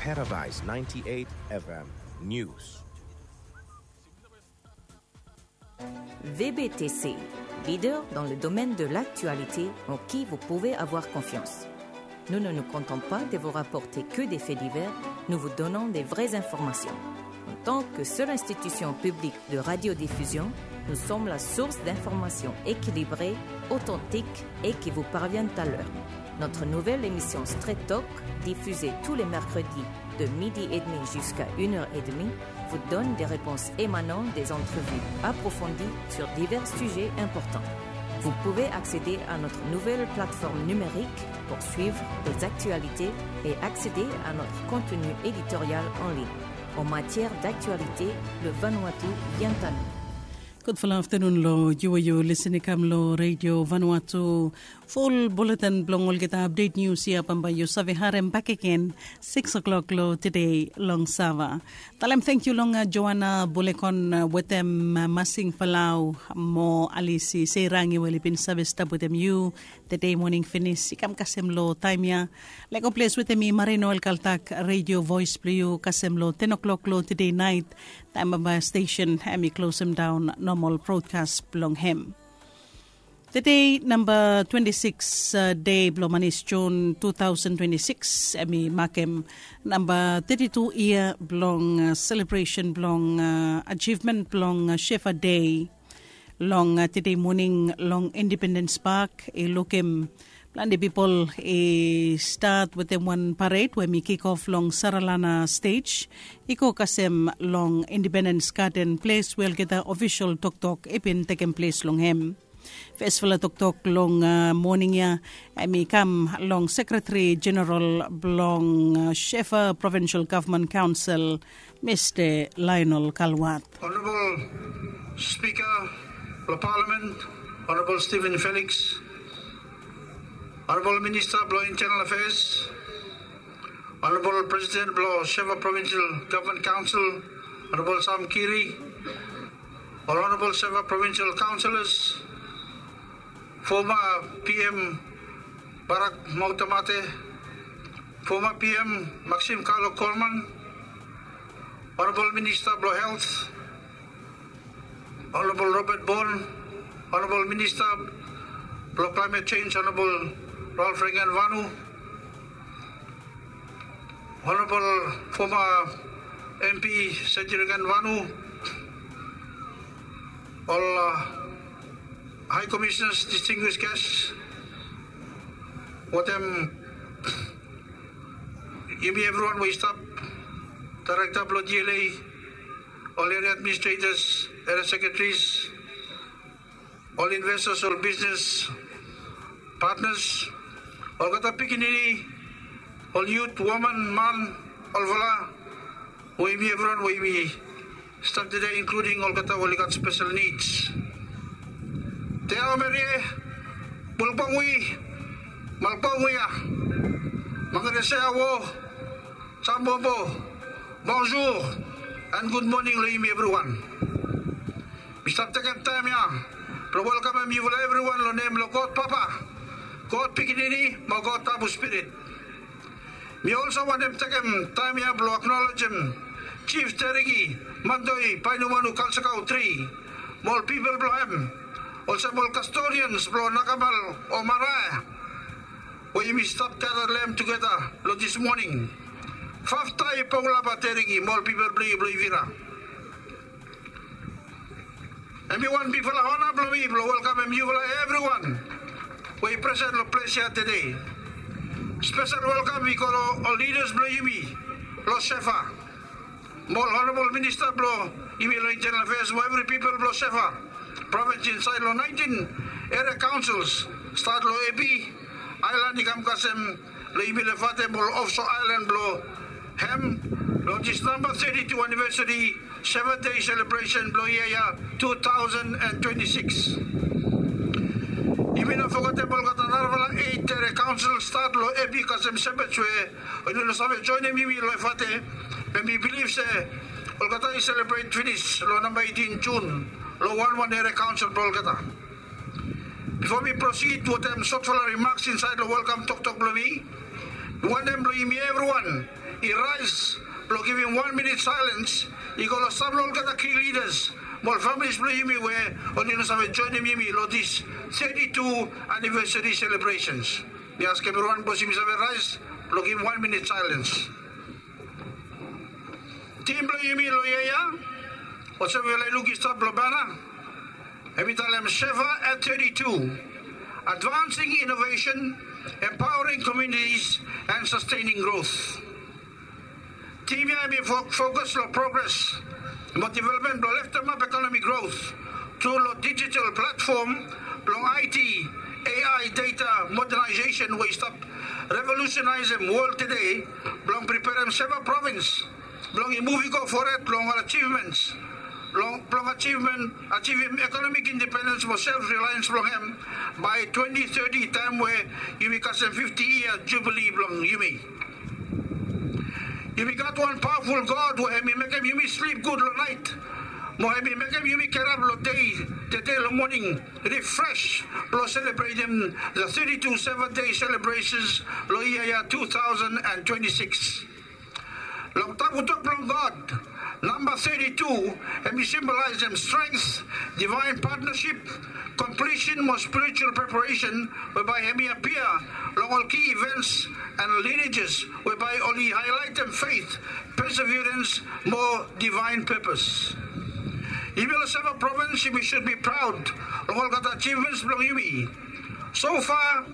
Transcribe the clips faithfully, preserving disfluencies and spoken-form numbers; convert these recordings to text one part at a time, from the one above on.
Paradise ninety-eight F M News. V B T C, leader dans le domaine de l'actualité en qui vous pouvez avoir confiance. Nous ne nous contentons pas de vous rapporter que des faits divers, nous vous donnons des vraies informations. En tant que seule institution publique de radiodiffusion, nous sommes la source d'informations équilibrées, authentiques et qui vous parviennent à l'heure. Notre nouvelle émission Straight Talk, diffusée tous les mercredis de midi et demi jusqu'à une heure et demie, vous donne des réponses émanant des entrevues approfondies sur divers sujets importants. Vous pouvez accéder à notre nouvelle plateforme numérique pour suivre les actualités et accéder à notre contenu éditorial en ligne. En matière d'actualité, le Vanuatu vient à nous. Gudfala aftanun long yu we yu lisin i kam long Radio Vanuatu. Ful bulletin blong olgeta update news ya bambae yu save harem bakegen six o'clock long tede long Sava. Talem tangkiu long Joanna Bulekon wetem Masing Falau mo Alisi Seirangi we oli bin save stap wetem yu tede moning finis i kam kasem long taem ya. Lego ples wetem mi Marino Elkaltak, Radio Voice blong yu kasem long ten o'clock long tede naet. Taem bambae stesen hem i klosem daon nomal brodkas blong hem. Tede namba twenti sikis dei blong manis Jun tu taosen twenti sikis hem i makem namba teti tu yia blong selebresen blong ajivmen blong Shefa Dei. Long tede moning long Independens Pak i lukim plante pipol i stat wetem wan pared we hem i kikof long Saralana stej i go kasem long Independens Gaden ples we olgeta ofisol toktok i bin tekem ples long hem. Fesfala toktok long moning ya hem i kam long Sekretari Jeneral blong Shefa Provinsel Gavman Kaonsel, Mista Lionel Kalwat. Honorable Speaker blong Palamen, Honorable Stephen Felix, Honorable Minista blong Internal Affairs, Honorable Presiden blong Shefa Provinsel Gavman Kaonsel, Honorable Sam Kiri, ol Honorable Shefa Provinsel Kaonselas, foma P M Barak Motamate, foma P M Maxim Kalo Korman, Honorable Minista blong Helt, Honorable Robert Bon, Honorable Minista blong Klaemet Jenj, Honorable Ralph Regenvanu, Honorable foma M P Sejirikan Vanu, ol High Commissioners, distinguished guests, wetem yumi evriwan we i stap, Daerekta blong D L A, ol Area Administrators, Area Sekretaris, ol investors, ol bisnes patnas, olgeta pikinini, ol yut, woman, man, olfala, we yumi evriwan we yumi stap tede, inkluding olgeta we oli gat spesel nids. Te aomerie, bulbongwi, malbongwi ya, mangaresea wo, sambobo, bonjour, and good morning long yumi evriwan. Mi stap tekem taem ya blong welkamem yufala evriwan long nem blong God Papa, God Pikinini mo God Tabu Spirit. Mi olsem wantem tekem taem ya blong aknolejem Jif Tereki Mandoi Painumanu Kalsakau Tri mo ol pipol blong hem, olsem ol kastodians blong Nakamal o Marae we yumi stap gada long hem tugeta long dis moning. Faftai Pongulapa Tereki mo ol pipol blong yu blong Ivira. Hem i wan bigfala ona blong mi blong welkamem yufala evriwan we i presen long ples ya tede. Spesel welkam i go long ol lidas blong yumi long Shefa, mo ol Honorabol Minista blong yumi long Internal Afeas mo evri pipol blong Shefa Provins insaed long naentin eria kaonsels, stat long Epi aelan i kam kasem long yumi long Efate mo ol ofso aelan blong hem long dis namba teti tu anivesari Shefa Dei selebresen blong yia ya tu taosen an twenti sikis. Yumi no fogetem olgeta narafala eit eria kaonsel stat long Epi kasem Shepherds we oli no save joenem yumi long Efate, be mi bilif se olgeta i selebret finis long namba eitin Jun long wanwan eria kaonsel blong olgeta. Bifo mi prosid wetem sotfala rimaks insaed long welkam toktok blong mi, Wantem blong yumi evriwan i raes blong givim wan minit saelens i go long sam long olgeta king lidas mo ol familis blong yumi we oli no save joenem yumi long dis teti tu anivesari selebresens. Mi askem evriwan bos yumi save raes blong givim wan minit saelens. Tim blong yumi long yia ya, olsem yufala i luk i stap long bana, hem i talem Seva at teti tu, advancing innovation, empowering communities and sustaining growth. Tim ya hem i fokus long progres mo developmen blong leftemap ekonomi growth tru long digital platfom blong I T, A I data modernization we i stap revolusenaesem wol tede blong preperem Seva provins blong i muv i go fored long ol ajivmens blong ajivim ekonomik independens mo self relians blong hem bae twenti teti taem we yumi kasem fifti yia jubili blong yumi. Yumi gat wan pawaful God we hem i mekem yumi slip gud long naet mo hem i mekem yumi gerap long dei tede long moning rifres blong selebretem the teti tu Seva dei selebresens long yia ya tu taosen and twenti sikis. Long tabutok blong God namba teti tu hem i simbolaesem strengt, divaen patnasip, komplisen mo spiritual preparesen we bae hem i apia long ol ki ivens and lineajes we bae oli haelaetem fet, perseverens mo divaen pepes. Yumi long Seva provins yumi sud bi praod long olgeta ajivmens blong yumi. Sofa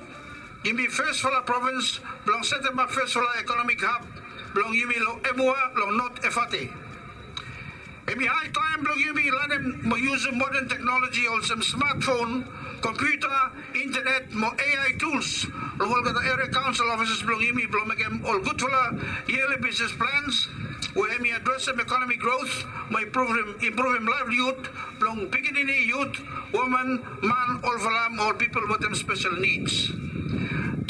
yumi fesfala provins blong setemap fesfala ekonomik hab blong yumi long Emua long Not Efate. Hem i hae taem blong yumi lanem mo yusum moden teknoloji olsem smatfon, kompiuta, intenet mo A I tuls long olgeta eria kaonsel ofisas blong yumi blong mekem ol gudfala yeli bisnes plans we hem i adresem ekonomik grot mo impruvim laevlihud blong pikinini, yut, woman, man, olfala mo ol pipol wetem spesel nids.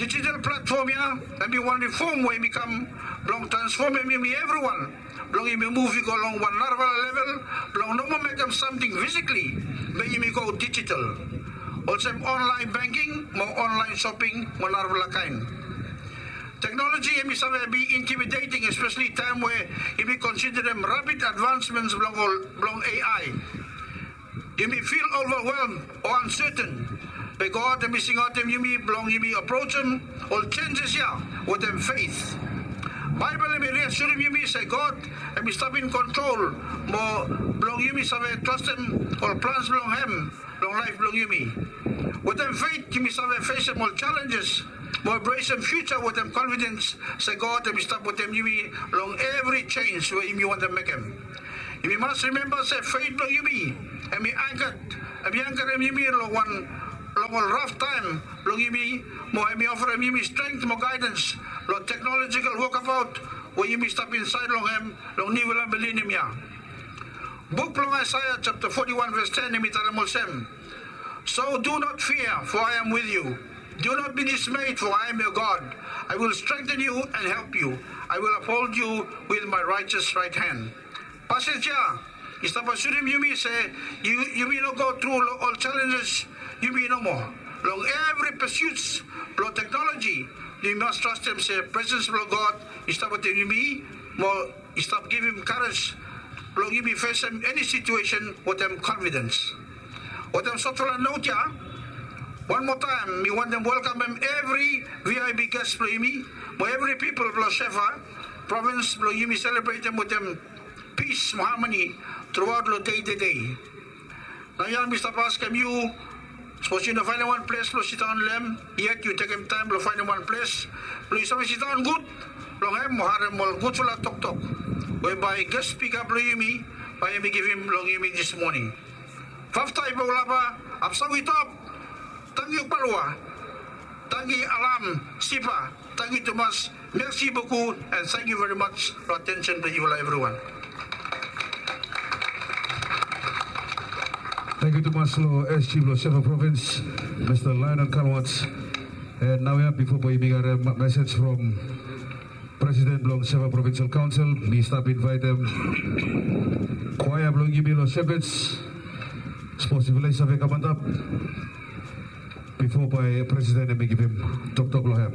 Dijital platfom ya hem i wan rifom we hem i kam blong transfomem yumi evriwan blong yumi muv i go long wan narafala level blong no moa mekem samting fisikli be yumi go dijital, olsem onlaen bengking mo onlaen soping mo narafala kaen. Teknoloji hem i save bi intimideting, espeseli taem we yumi konsiderem rapid advansmens blong ol blong A I. Yumi fil ovawelm o anseten, be God hem i singaotem yumi blong yumi aprojem ol jenjes ya wetem fet. Baebol hem i riasurim yumi se God hem i stap in kontrol mo blong yumi save trastem ol plans blong hem long laef blong yumi. Wetem fet yumi save fesem ol jalenjes mo embrasem fiuja wetem konfidens se God hem i stap wetem yumi long evri jens we yumi wantem mekem. Yumi mas rimemba se fet blong yumi hem i ankat hem i ankarem yumi long wan long ol raf taem blong yumi mo hem i ofarem yumi strength mo gaedens long teknolojikal wokabaot we yumi stap insaed long hem long niufala milenium ya. Buk blong Aesea japta foti wan ves ten hem i talem olsem, "So do not fear, for I am with you. Do not be dismayed, for I am your God. I will strengthen you and help you. I will uphold you with my righteous right hand." Pasej ya i stap asurim yumi se yumi no go tru long ol jalenjes yumi nomo. Long evri pesiuts blong teknoloji yumi mas trastem se presens blong God i stap wetem yumi mo i stap givim karej blong yumi fesem eni situesen wetem konfidens. Wetem sotfala not ya, wan moa taem mi wantem welkamem evri V I P ges blong yumi mo evri pipol blong Seva provins blong yumi selebretem wetem pis mo hamani truaot long dei tede. Naoia mi stap askem yu, sapos yu no faenem wan ples blong sidaon long hem yet, yu tekem taem blong faenem wan ples blong yu save sidaon gud long hem mo harem ol gudfala toktok we bae ges spika blong yumi bae hem i givim long yumi dis moning. Fafta i bo laba, apsa wi top. Tangkiu Palua. Tangkiu Alam Sipa. Tangkiu tumas. Mersi boku, and thank you very much long atensen blong yufala evriwan. Tangkiu tumas long S G blong Seva Provins, Mista Lionel Kalwats. And naoia bifo bae yumi harem mesej from Presiden blong Seva Provinsel Kaonsel, mi stap invaetem kwaea blong yumi long Shepherds. Sapos yufala i save kam antap bifo bae Presiden hem i givim toktok long hem.